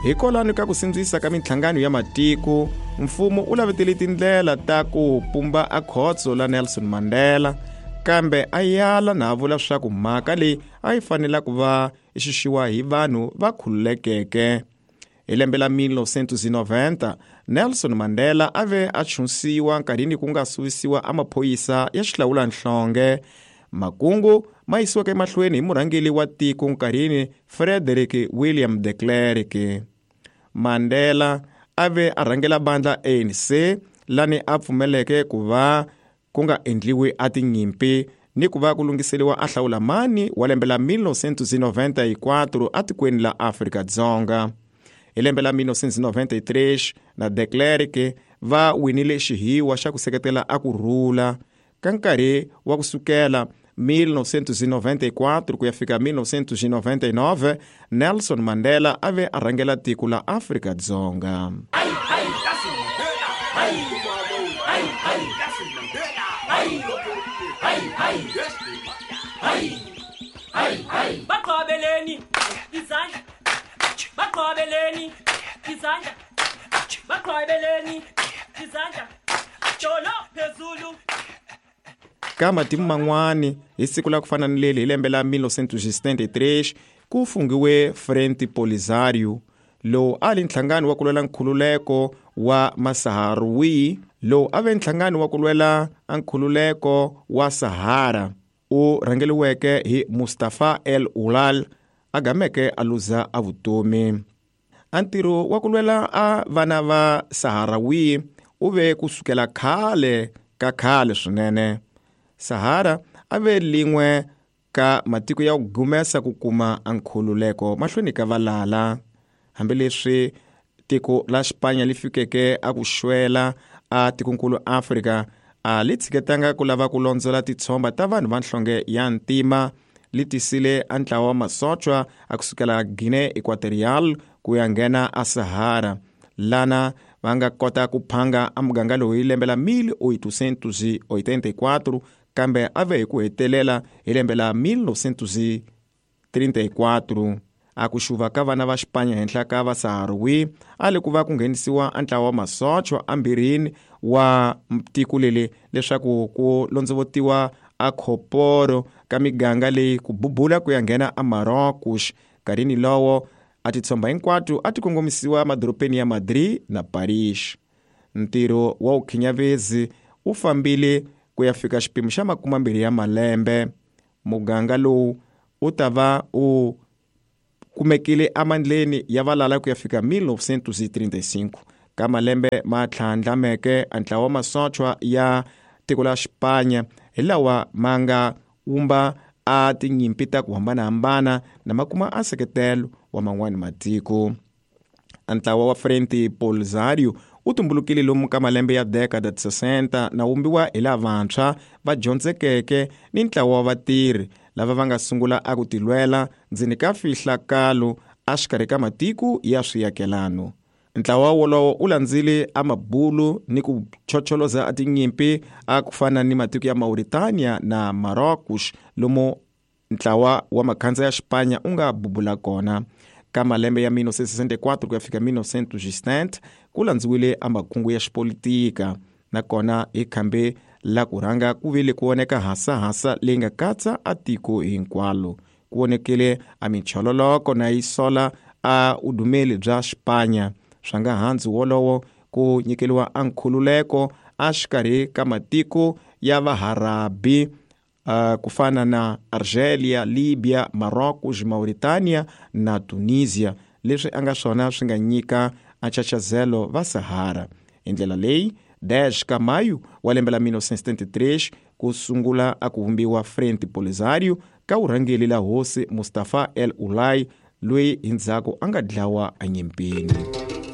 Hikwalano ka ku sindzisa ka minhlangano ya matiko, mfumo u lavetele tindlela ta ku pumba a khotso la Nelson Mandela, kambe a yala na a vula swa ku mhaka leyi a yi fanela ku va xixiwa hi vanhu va khululekeke. Hi lembe la 1990, Nelson Mandela a ve a chunsiwa nkarhini ku nga suvisiwa a maphorisa ya xihlawulanhlonge. Makungu ma yisiweke emahlweni hi murhangeri wa tiko nkarhini Frederick William de Klerk. Mandela a ve a rhangela bandla ANC lani a pfumeleke ku va ku nga endliwi a tinyimpi ni ku va ku lunghiseriwa a hlawula mani wa lembe la 1994 atikweni la Afrika-Dzonga. Hi lembe la 1993 na de Klerk va winile xihiwa xa ku seketela a ku rhula ka nkarhi wa ku sukela 1994 ku ya fika 1999. Nelson Mandela a ve a rhangela tiko la Afrika-Dzonga. Baqhwabeleni izandla, baqhwabeleni izandla, baqhwabeleni izandla, jolo phezulu. Ka matimu man'wani, hi siku la ku fana ni leli hi lembe la 1973, ku fungiwe Frente Polisario, lowu a li nhlangano wa ku lwela nkhululeko wa Masaharawi, lowu a ve nhlangano wa ku lwela nkhululeko wa Sahara, u rhangeliweke hi Mustafa El Ulal, a gameke a luza a vutomi. A ntirho wa ku lwela a vana va Saharawi u ve ku sukela khale ka khale swinene. Sahara a ve lin'we ka matiko ya ku gumesa ku kuma nkhululeko mahlweni ka valala. Hambileswi tiko la Xipanya li fikeke a ku xwela a tikonkulu Afrika, a li tshiketanga ku lava ku londzola titshomba ta vanhu va nhlonge ya ntima. Li tisile a ntlawa wa masochwa a kusukela Guinea Equatorial ku ya nghena a Sahara, lana va nga kota ku phanga a muganga lowu hi lembe la 1884, kambe a ve hi ku hetelela hi lembe la 1934. A ku xuva ka vana va Xipanya henhla ka Vasaharawi a li ku va ku nghenisiwa a ntlawa wa masochwa ambirhini wa tiko leli leswaku ku londzovotiwa a khoporo ka miganga leyi ku bubula ku ya nghena a Marocos. Nkarhini lowo a titshomba hinkwato a ti kongomisiwa madorobeni ya Madrid na Paris. Ntirho wa vukhinyavezi wu fambile ku ya fika xipimo xa 20 ya malembe. Muganga lowu wu ta va u kumekile amandleni ya valala ku ya fika 1935. Ka malembe ma tlhandlameke, a ntlawa wa masochwa ya tiko la Xipanya hi lawa ma nga wumba a tinyimpi ta ku hambanahambana na ma kuma a nseketelo wa man'wani matiko. A ntlawa wa Frente Polisario wu tumbulukile lomu ka malembe ya dekada 60 na wumbiwa hi lavantshwa va dyondzekeke ni ntlawa wa vatirhi lava va nga sungula a ku tilwela ndzeni ka fihlakalo a xikarhi ka matiko ya swiakelano. Ntlawa wolowo wu landzile a mabulu ni ku chocholoza a tinyimpi a ku fana ni matiko ya Mauritania na Marocos, lomu ntlawa wa makhandza ya Xipanya u nga bubula kona. Ka malembe ya 1964 ku ya fika 1960 ku landziwile a makungu ya xipolitika, nakona hi khambe la ku rhanga ku vile ku voneka hasahasa leyi nga katsa a tiko hinkwalo. Ku vonekile a minchololoko na yi sola a vudumeli bya Xipanya. Swa nga handzu wolowo ku nyikeliwa a nkhululeko a xikarhi ka matiko ya Vaharabi, ku fana na Algeria, Libya, Marocos, Mauritania na Tunisia, leswi a nga swona swi nga nyika a nchachazelo va Sahara. Hi ndlela leyi, 10 ka Mayu wa lembe la 1973 ku sungula a ku vumbiwa Frente Polisario ka vurhangeri la hosi Mustafa El Ulay, loyi hi ndzhaku a nga dlawa enyimpini.